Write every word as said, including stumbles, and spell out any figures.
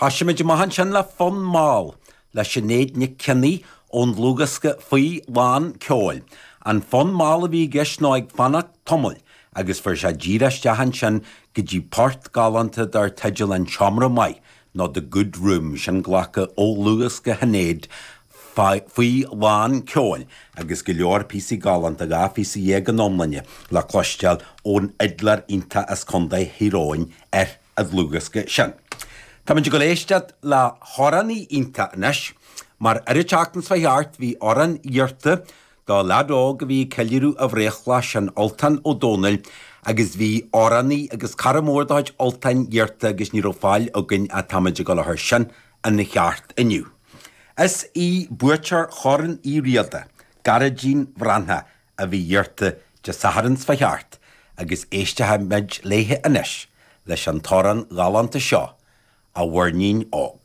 Thosaigh muid amach ansin le fonn mall le Sinéad Nic Cionnaith ón dlúthdhiosca Faoi Lán Ceoil. An fonn mall a bhí i gceist ná ag fanacht tamaill agus fuair sé díreach isteach ansin go dtí port galánta dar teideal An Seomra Maith nó The Good Room sin glactha ó dhlúthdhiosca Shinéad faoi lán ceoil agus go leor píosaí galánta dhá phíosa dhéag in iomláine le cloisteáil ón fhidléir iontach as Contae Thír Eoghain ar an dlúthdhiosca sin. Táimid ag dul éisteacht le hamhránaí iontach anois, mar ar an tseachtain seo thart bhí amhrán iarrta do leaid óg a bhí ag ceiliúradh a bhreithlá sin Ultan Ó Dónaill agus bhí amhránaí agus cara mór de chuid Ultáin iarrta agus ní raibh fáil againn ach táimid ag dul a chur sin ina cheart inniu. Is í buaiteoir Chorn Uí Riada, Gearóidín Bhreathnach a bhí iarrta Dé Sathairn seo thart agus éistfimid léithe anois leis an t-amhrán galánta seo a Mhuirnín Óg.